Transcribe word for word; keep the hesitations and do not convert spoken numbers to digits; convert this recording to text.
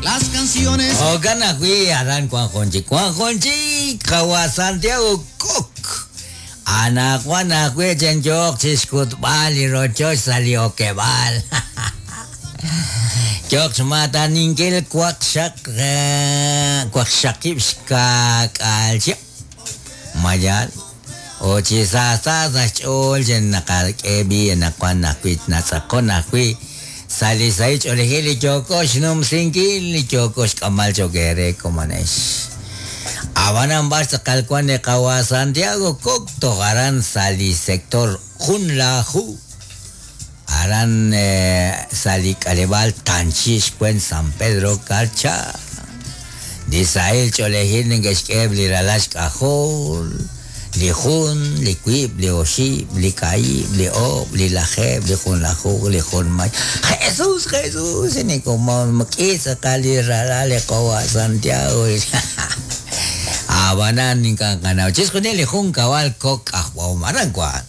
Las canciones. Jo'kan ajwi' aran wan jun chik, wan jun chik, qawa' Santiago Coc. Anaqwan ajwi' chenyo'q chixkutb'al li rochoch sa' li okeb'aal. Yo'q xmataninkil waqxaq waqxaqib' xka'k'aal chihab'. Mayal. O chi sa sa sa xch'ool chenaqak'e b'i anaqwan ajwi' natz'aqon ajwi' sa' li sahil ch'oolejil li yooko xnumsinkil li yooko xk'amal cho'q eere komonex. Ab'anan b'ar tz'aqal wan li qawa' Santiago Coc toj aran sa' li sector Junlaju. Aran sa' li k'aleb'aal Tanchix wen San Pedro Carchá. Li sahil ch'oolejil neke'xk'eheb' li ralal xk'ajol, li jun, li wiib', li oxib', li kaahib', li oob', li lajeeb', li junlaju, li junmay. Jesús, Jesús, nikomon k'i tz'aqal li ralal li qawa' Santiago. Ab'anan ink'a' nqanaw chixjunil li jun kab'al kok' k'ajb'om aran wan.